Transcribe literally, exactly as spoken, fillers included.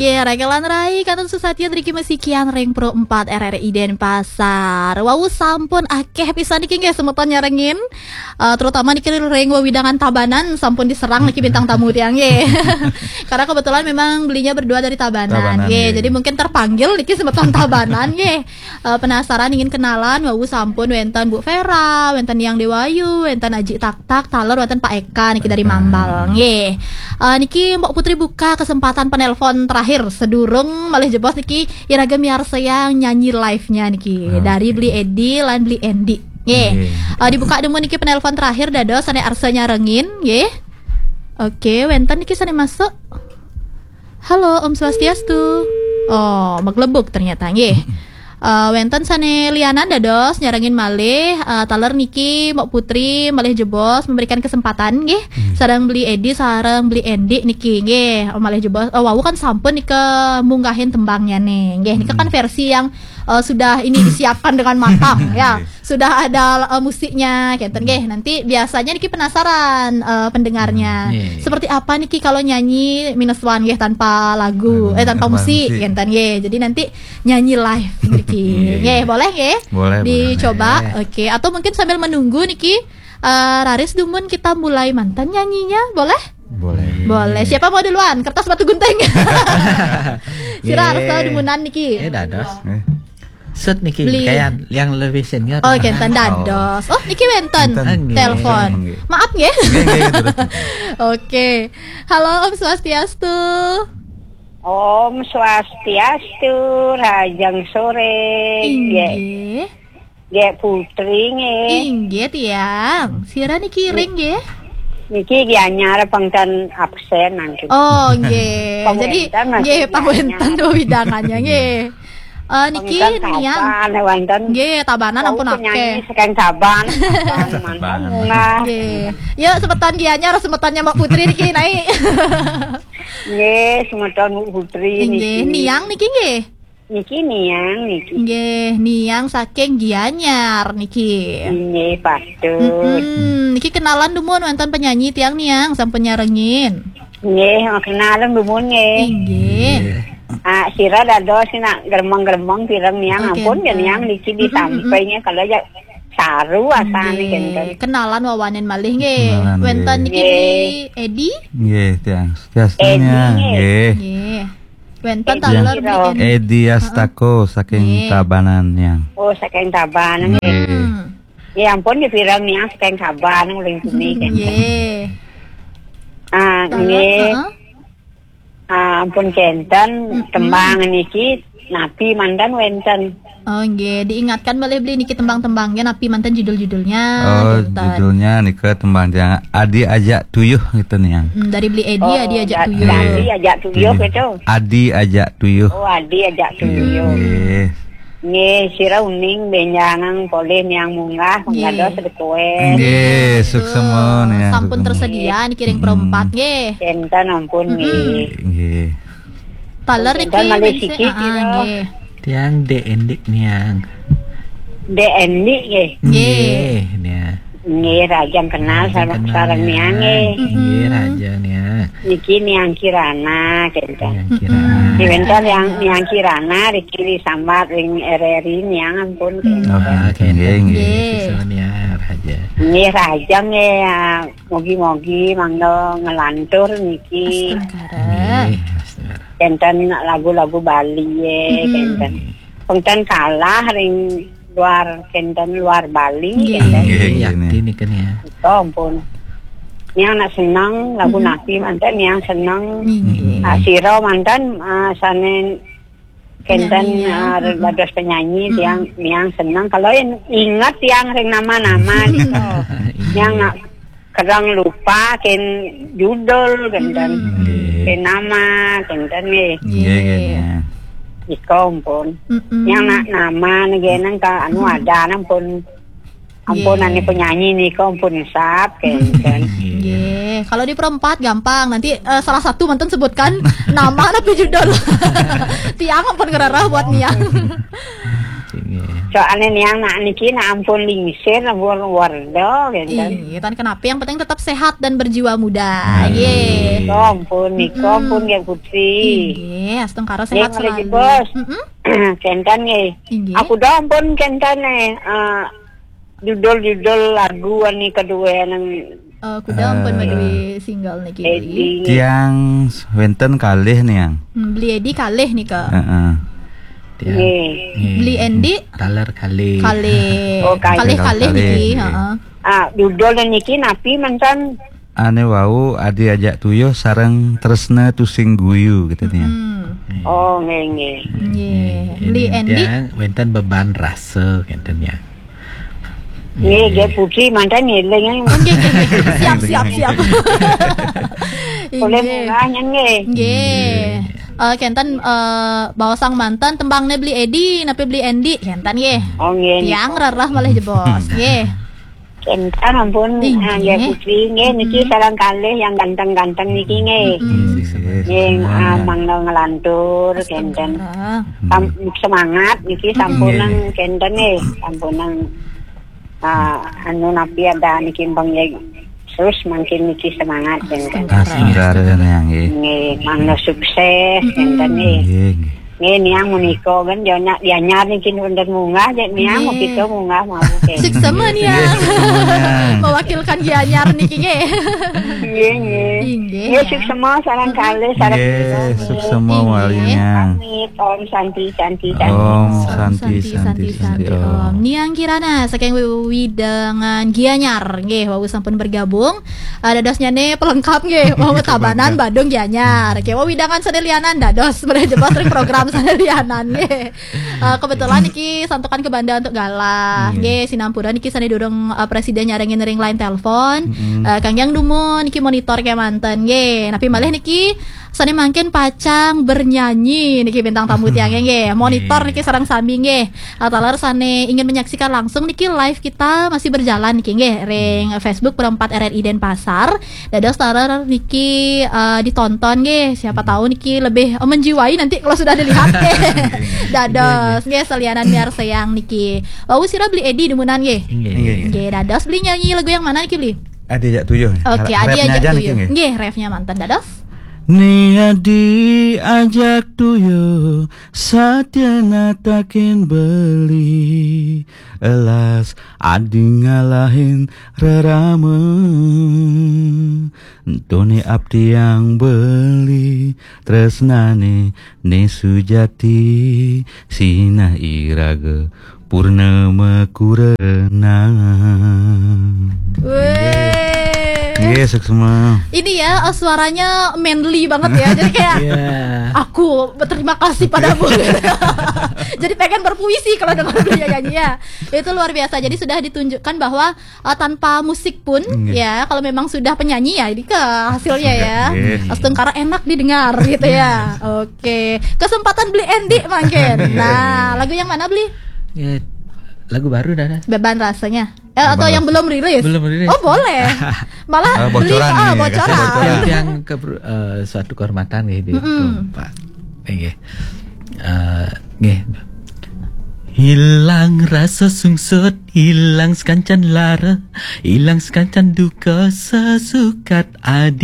Oke, Regelan Rai, kantun susatia driki masikian ring Pro empat R R I Denpasar. Wau sampun akeh pisan niki nggih semeton nyarengin. Eh, terutama niki ring wewidangan Tabanan sampun diserang niki bintang tamu tiang nggih. Karena kebetulan memang belinya berdua dari Tabanan, Tabanan, nggih. Nggih. Jadi mungkin terpanggil niki semeton Tabanan nggih. Eh, penasaran ingin kenalan, wau sampun wenten Bu Vera, wenten Yang Dewayu, wenten Aji Taktak, taler wenten Pak Eka niki dari Mambal nggih. Eh, niki Mbok Putri buka kesempatan penelpon terakhir sedurung malih jebos niki iraga miarsayang nyanyi live-nya niki. Oke. Dari Beli Edi lan Beli Endi. Nggih. Nggih. Eh, dibuka dulu niki penelpon terakhir dados sane arsa nyarengin nggih. Oke, wenten niki sane masuk. Halo, Om Swastiastu. Oh, maglebuk ternyata nggih. Eh, wenten sane lianan dados nyarengin malih, eh, taler niki Mbok Putri malih jebos memberikan kesempatan nggih. Hmm. Sareng Beli Edi, sareng Beli Endi niki nggih. Oh, malih jebos. Oh, wau kan sampun nika munggahin tembangnya nih. Nggih, nika kan versi yang, eh, sudah ini disiapkan dengan matang ya. Nggih. Sudah ada, eh, musiknya kenten nggih. Nanti biasanya niki penasaran, eh, pendengarnya. Hmm, iya, iya. Seperti apa niki kalau nyanyi minus one nggih tanpa lagu, lagu, eh, tanpa musik, tanpa musik kenten nggih. Jadi nanti nyanyi live niki. Iya, iya. Nggih, boleh nggih? Boleh, boleh. Dicoba. Boleh. Oke, atau mungkin sambil menunggu niki, eh, raris dumun kita mulai manten nyanyinya, boleh? Boleh. Boleh. Siapa mau duluan? Kertas batu gunting. Sira arsa dumunan niki. Eh, dados. Eh. Set niki, Beli. Kayan yang lebih senior. Oh, kenten dados. Oh, niki wenten. Wenten. Telepon. Nggih. Maaf nggih. Nggih, nggih, terus. Oke. Halo, Om Swastiastu. Om Swastiastu, rahajeng sore. Nggih. Inggih. Nggih, Putri nggih. Inggih, tiang. Sira niki ring nggih. Niki Gianyar pangtan absen mangkin. Oh, nggih. Jadi, nggih, pangwentan wewidangannya nggih. Eh, niki Niang. Tabanan wonten. Nggih, Tabanan ampun akeh. Penyanyi saking Tabanan. Tabanan. Nggih. Ya, semeton Gianyar, semetonnya Mbok Putri niki naik. Nggih, semeton Mbok Putri niki. Nggih, Niang niki nggih. Niki Niang niki. Nggih, Niang saking Gianyar niki. Nggih, patut. Mm-mm. Niki kenalan dumun wonten penyanyi tiang Niang sampun nyarengin. Nggih, kenalan dumun nggih. Inggih. Nggih. Ah, sira dados nak gremeng-gremeng pireng Niang. Oh, ampun ya kenten. Niang niki ditampai nggih kalau ya saru asane kenten. Nggih. Kenalan wawanen malih nggih. Kenalan, wonten nggih. Niki Edi? Nggih, tiang. Edi, nggih. Nggih. Wenten taler Edi Edi. Edi Astako saking Tabanan, Niang. Oh, saking Tabanan. Nggih. Hmm. Ya ampun, ya pirang Niang saking Tabanan uling sini kan. Nggih. Ah, taler, nggih. Heeh. Ah, ampun kenten tembang niki napi mandan wenten. Oh, nggih, diingatkan malih Beli niki tembang-tembangnya napi manten judul-judulnya. Oh, kenten. Judulnya nika tembang tiang Adi Ajak Tuyuh gitu, Niang. Hmm, dari Beli Edi, oh, Adi Ajak Tuyuh. Adi Ajak Tuyuh gitu. Adi Ajak Tuyuh. Oh, Adi Ajak Tuyuh. Nggih. Nggih, sira uning benjangan polih Niang munggah, nggih. Mangkados request. Nggih, suksema, Niang, sampun suksema. Tersedia niki ring perempat nggih. Kenten ampun nggih. Nggih. Taler niki malih siki, ah, nggih. Tiang Dek Endik Niang. Dek Endik nggih. Nggih. Nggih, Niang. Nggih, rahajeng kenal sareng Niang nggih. Nggih, rahajeng Niang. Niki Niang Kirana kenten. Niang Kirana. Di wenten yang Niang Kirana riki disambat ring R R I Niang ampun. Oh, kenten. Nggih, nggih. Nggih. Siswa Niang rahajeng. Nggih, rahajeng nggih, ya. Mugi-mugi mangda ngelantur niki. Astungkara. Nggih, astungkara. Kenten lagu-lagu Bali ya, kenten. Pengten kalah ring luar, kenten luar Bali, nggih. Kenten. Nggih, nggih, yakti nika nih ya. Nika ampun. Niang nak seneng lagu napi manten Niang seneng. Nggih. Ah, sira manten, ah, sane kenten, penyanyi, ah, dados penyanyi, tiang, Niang seneng. Kalau in-, inget tiang ring nama-nama nika. Niang nak kerang lupa ken judul kenten. Nggih. Ken nama kenten nggih. Nggih, nggih, nggih. Nika ampun. Niang nak nama nggih nang ka anu ada nang pun. Ampun, nggih. Ane penyanyi nika ampun sap kenten. Nggih. Nggih. Kalau di perempat gampang. Nanti, eh, salah satu manten sebutkan nama napi judul. Tiang ampun ngerereh buat Niang. Nggih. Soalnya niang nak niki nak ampun lingsir, ampun wardo gitu. Iya, tan kenapa, yang penting tetap sehat dan berjiwa muda. Nggih. Nika ampun, nika ampun, nggih, Putri. Nggih, astungkara sehat selalu. Bos. Kenten nggih. Nggih. Aku dah ampun kenten nih. Eh, judul-judul lagu ani kedua nang, eh, kuda ampun, eh, madue single niki. Edi. Tiang wenten kalih niang. Hmm, Beli Edi kalih nika. Heeh. Tiang. Nggih. Nggih. Beli Endi? Taler kalih. Kalih. Oh, kalih. Kalih-kalih niki, nggih. Heeh. Ah, judul niki napi mantan? Ane wau Adi Ajak Tuyuh sareng Tresna Tusing Guyu gitu niang. Hmm. Nggih. Oh, nggih, nggih. Nggih. Nggih. Beli Endi? Tiang wenten Beban Rasa kenten ya. Nggih, nggih, Putri mantan ngiling. Oh, nggih, nggih, nggih. Siap, siap, siap. Boleh munggah, nggih. Nggih. Eh, kenten, eh, baosang mantan tembangne Beli Edi, napi Beli Endi, kenten nggih. Oh, nggih. Tiang rerah malih jebos, nggih. Kenten ampun, ah, nggih, Putri, nggih, niki sareng kalih yang ganteng-ganteng niki, nggih. Nggih, ah, mangda ngelantur, kenten. Astungkara. Sam-, semangat niki sampunang kenten nggih, sampunang, ah, anu napi ada niki mbang ya. Terus mangkin niki semangat kenten. Astungkara niang nggih. Nggih, mangda sukses kenten nggih. Nggih, nggih. Nggih, niang menika kan dia nyak dianyar niki wonten munggah, jek niang kita munggah mau kenten. Suksema niang. Mewakilkan Gianyar niki nggih. Nggih, nggih. Inggih. Nggih, suksema sareng kalih sareng. Nggih, suksema wali niang. Amit. Om Santi, Santi, Santi. Om Santi, Santi, Santi, Om. Niang Kirana saking wewidangan Gianyar nggih, wau sampun bergabung. Eh, dadosnyane pelengkap nggih, wau Tabanan, Badung, Gianyar. Nggih, wewidangan sane lianan dados, boleh jebos ring program sane lianan nggih. Eh, kebetulan niki santukan kebanda untuk galah. Nggih, sinampura niki sane durung, eh, presida nyarengin ring line telepon. Eh, kangge dumun niki monitor kemanten nggih. Napi malih niki sane mangkin pacang bernyanyi niki bintang tamu tiange nggih. Monitor niki sareng sami nggih. Eh, taler sane ingin menyaksikan langsung niki live kita masih berjalan niki nggih ring Facebook Perempat R R I Denpasar. Dados taler niki, eh, ditonton nggih. Siapa tahu niki lebih, eh, menjiwai nanti kalau sudah dilihat nggih. Dados nggih, selianan miarsayang niki. Wau sira Beli Edi dumunan nggih. Nggih. Nggih, dados Beli nyanyi lagu yang mana niki, Beli? Adi Ajak Tuyuh. Oke, Adi Ajak Tuyuh. Nggih, refnya manten dados. Ni adi ajak tuyuh, satyana takin beli, elas adi ngalahin rerama. Entone abdi yang beli, tresnane ne sujati, sinah iraga purnama kurena. Weh. Nggih, suksma. Ini ya, eh, suaranya manly banget ya. Jadi kayak, "Aku berterima kasih padamu." Jadi pengen berpuisi kalau dengar dia nyanyi ya. Itu luar biasa. Jadi sudah ditunjukkan bahwa, eh, tanpa musik pun ya, kalau memang sudah penyanyi ya, ini ke hasilnya ya. Astungkara enak didengar gitu ya. Oke. Kesempatan Beli Endi mangkin. Nah, lagu yang mana, Beli? Ya, lagu baru dah. Beban Rasanya. Eh, atau yang belum rilis? Belum rilis. Oh, boleh. Malah ah, bocoran nih, bocoran. Yang ke, eh, suatu kehormatan gitu. Pak. Nggih. Eh, nggih. Hilang rasa sungsut, hilang sekancan lara, hilang sekancan duka sesukat adi.